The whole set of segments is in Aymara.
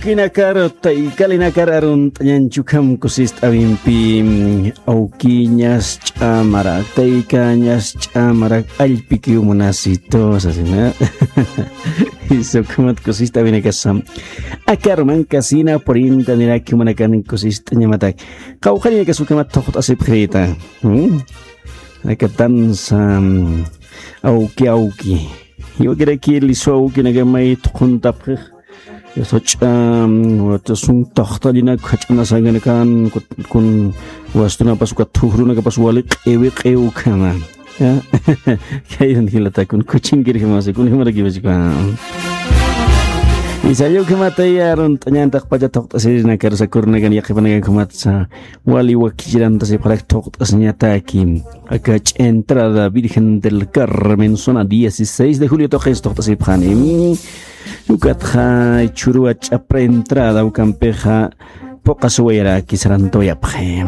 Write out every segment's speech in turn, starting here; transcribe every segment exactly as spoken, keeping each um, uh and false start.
Awkinakar, taykalinakar arunt'añanchi ukham kusist'awimpi, mm, awkiñas ch'amarak, taykañas ch'amarak, allpikiw munasito, sasina. Jisa ukhamat kusist'awinakasa. Akar mankasina purinta niraki manakan kusist'añamatak. Qawqhañakas ukhamat thuqt'asipxirita. Hmm? Aka danza, mm, awki, awki. Iwakiraki lisu awkinaka may thuqhuntapxix. Yasach'a, mm, wata sum taqtalinak jach'anasankanakan, kun, kun wastunapas, uka thuqrunakapas wali q'iwi q'iw ukhama. Ya. Kayran jilata kun kuchinkirjamasa, kun jimarakiwasika. Isalla ukhamatay arunt'añan taqpacha thuqt'asirinakar sakurnakan yaqhipanakan ukhamatsa. Wali wakichirantasipxarak thuqt'asiñataki. Aka ch'entrada Virgen del Carmen, zona dieciséis de julio tuqis thuqt'asipxani. Ukatxa chhuruwa ch'apra entrada ukampixa phuqasuwayaraki sarantawayapxi.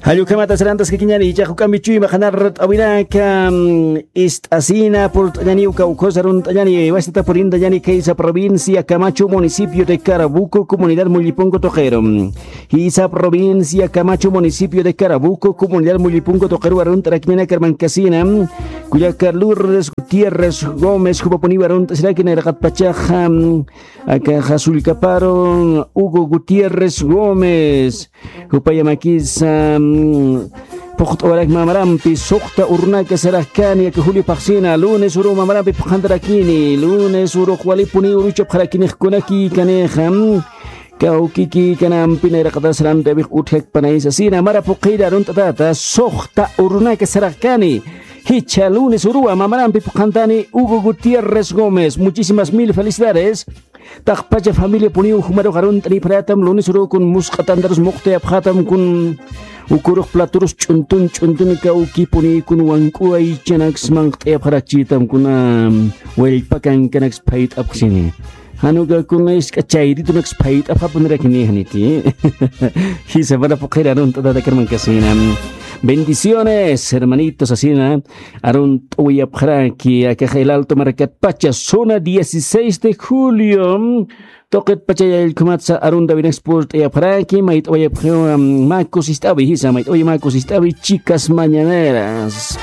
Jall ukhamata sarantaskakiñani, jichhax juk'ampi chuyma qhanart'awinaka, mm, ist'asina purt'añani uka ukhusa arunt'añani, wasita purintañani Khaysa provincia, Camacho, municipio de Carabuco, comunidad Mullipunku tuqiru. Jisa provincia, Camacho, municipio de Carabuco, comunidad Mullipunku tuqiru arunt'arakiñanakar mankasina. Kullaka Lourdes Gutiérrez Gómez, jupapuniw arunt'asiraki nayraqatpachaxa, mm, akaxa Sullkaparu, Hugo Gutiérrez Gómez. Jupayamakisa, mm, phuqt'awarak mamarampi, suxta urunaka saraxkani, aka Julio phaxsina, lunes uru mamarampi phuqhantarakini, lunes urux walipuni uruchapxarakinix kunakïkanixa, mm, kawkikïkanampi nayraqatas sarantawix utjakpanay sasina, mara phuqhira arunt'atata, suxta urunaka saraxkani, jichha lunes uruwa mamarampi phuqhantani, Hugo Gutiérrez Gómez, muchísimas mil felicidades. Taqpacha familiapuniw jumarux arunt'anipxaratam, lunes urukun musq'a tantarus muqtayapxatam, kun ukurux platurus ch'untun ch'untun kawkipuni kun wank'uwaychanaks manqt'ayapxarakchitam, kuna wallpa kankanaks phayt'apxsini. Jan uka kuna isk'a chayritunaks phayt'apxapunirakinï janiti. Jisa mara phuqhira arunt'atat akar mankasina. Bendiciones, hermanitos, asina. Arunt'awayapxaraki, akaxa El Alto markatpacha, zona dieciséis de julio. Tuqitpacha yayllkhumatsa arunt'awinaks purt'ayapxaraki, mayt'awayapxiw, mm, mä kusist'awi, jisa, mayt'awi mä kusist'awi, chicas mañaneras.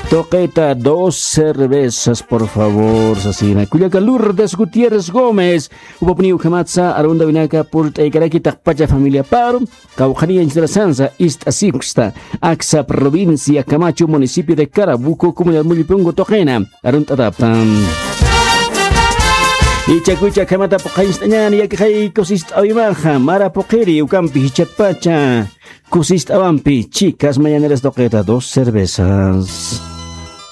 Tuqita dos cervezas, por favor, sasina. Kullaka Lourdes Gutiérrez Gómez, jupapuniw ukhamatsa arunt'awinaka purt'aykaraki taqpacha familiaparu. Qawqhaniyanchitarasansa ist'asipxsta, Aksa provincia, Camacho, municipio de Carabuco, comunidad Mullipunku tuqina arunt'atapxtam. Ichakucha khamata phuqhañcht'añäni, yaqha kusist'awimaxa, mara phuqhiri ukampi jichatpacha kusist'awampi, chicas mañaneras tuqita dos cervezas.